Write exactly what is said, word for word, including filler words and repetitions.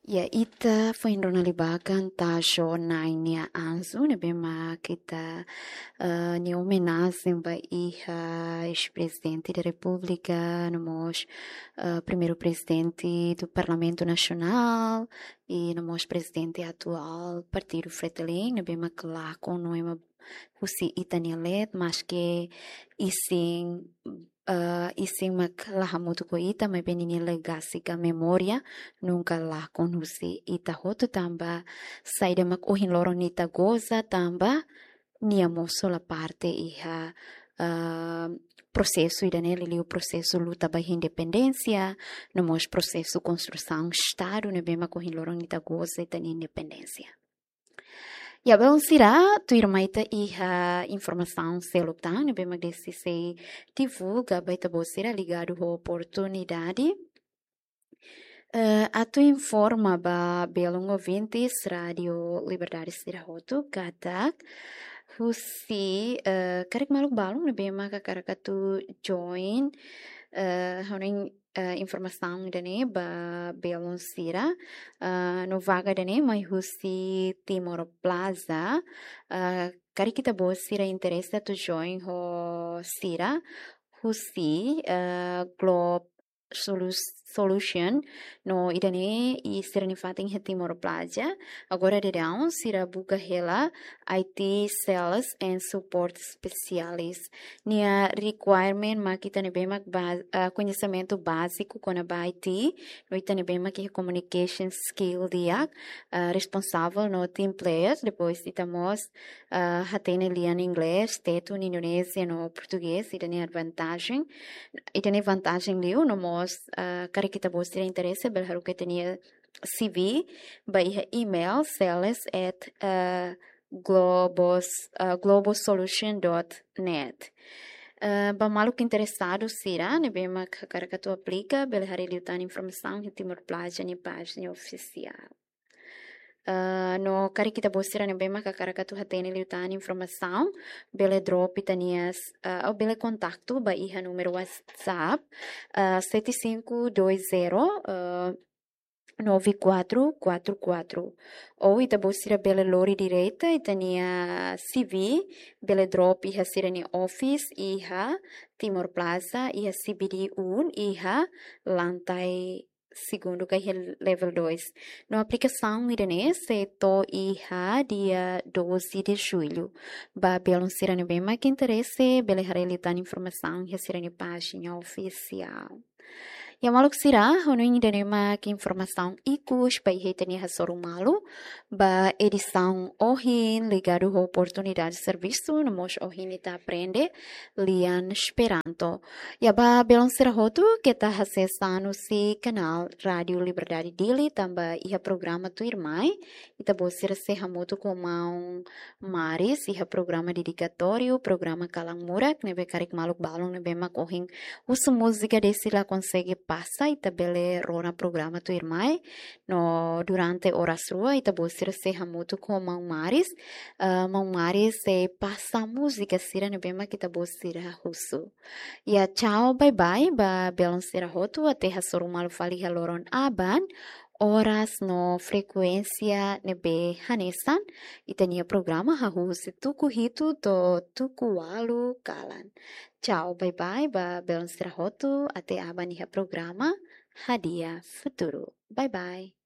Ya, ita foin rona liu ba kanta João Nain nia anju, ne'ebé mak ita, eh, nia omenajen ba iha eis-prezidente da Repúblika, no mós, eh, primeiru prezidente do Parlamentu Nasionál, i no mós prezidente atuál Partidu Fretilin, ne'ebé mak lakon no ema husi ita-nia leet, maske isin, eh, isin mak la hamutuk ho ita, maibé ninia legasi ka memória nunka lakon husi ita hotu tanba saida mak ohin loron ita goza tanba nia mós hola parte iha, eh, prosesu ida-ne'e liuliu prosesu luta ba independénsia, no mós prosesu konstrusaun Estadu ne'ebé mak ohin loron ita goza ita-nia independénsia. Ya, belun sira, tuirmai ita iha informasaun seluk tan ne'ebé mak desi sei divulga ba ita-boot sira ligadu ho oportunidade. Eh, atu informa ba belun ouvintes Rádio Liberdade sira hotu katak husi, eh, karik maluk balun ne'ebé mak hakarak atu join, eh, hanoin, eh, informasaun ida-ne'e ba belun sira, eh, no vaga ida-ne'e mai husi Timor Plaza, eh, karik ita-boot sira interese atu join ho sira husi, eh, Globe Solus-, Solution, no ida-ne'e i sira-nia fatin iha Timor Plaza. Agora daudaun sira buka hela I T Sales and Support Specialist. Nia requirement mak ita ne'ebé mak ba-, ah, koñesimentu báziku kona-ba I T, no ita ne'ebé mak iha communication skill di'ak, ah, responsavel no team player, depois ita mós, ah, hatene lian inglés, tetun, indonézia no portugés, ida-ne'e vantajen, ida-ne'e vantajen liu, no mós, ah, karik ita-boot sira interese, bele haruka ita-nia C V ba iha email sales at, eh, globos, eh, globosolution dot net. Eh, ba maluk interesadu sira ne'ebé mak hakarak atu aplika, bele haree liután informasaun iha Timor Plaza nia pájina ofisiál. Eh, no karik ita-boot sira ne'ebé mak hakarak atu hatene liután informasaun, bele drop ita-nia, eh, ou bele kontaktu ba iha númeru WhatsApp, eh, sete cinco dois zero, eh, nove quatro quatro quatro. Ou ita-boot sira bele lori direta ita-nia C V, bele drop iha sira-nia office iha Timor Plaza, iha C B D um, iha lantai segundu ka iha level dois. No aplikasaun ida-ne'e sei to'o iha dia doze de julho. Ba belun sira ne'ebé mak interese, bele haree liután informasaun iha sira-nia pájina ofisiál. Ya maluk sira, hanoin ida-ne'e mak informasaun ikus ba iha ita-nia hasoru malu ba edisaun ohin ligadu ho oportunidade servisu, no mós ohin ita aprende lian Esperanto. Ya ba belun sira hotu, keta hasees tan husi kanál Rádio Liberdade Dili tanba iha programa tuirmai ita-boot sira sei hamutuk ho maun Maris iha programa dedikatóriu, programa Kalan Murak, ne'ebé karik maluk balun ne'ebé mak ohin husu múzika de'it la konsege pasa, ita bele rona programa tuirmai. No durante oras rua ita-boot sira sei hamutuk ho maun Maris, eh, maun Maris sei pasa múzika sira ne'ebé mak ita-boot sira husu. Ya, tchau, bye bye ba belun sira hotu, até hasoru malu fali iha loron aban, oras no frekuénsia ne'ebé hanesan, ita-nia programa hahú husi tuku hitu to'o tuku ualu kalan. Tchau, bye bye ba belun sira hotu, até aban iha programa Hadi'a Futuru. Bye bye.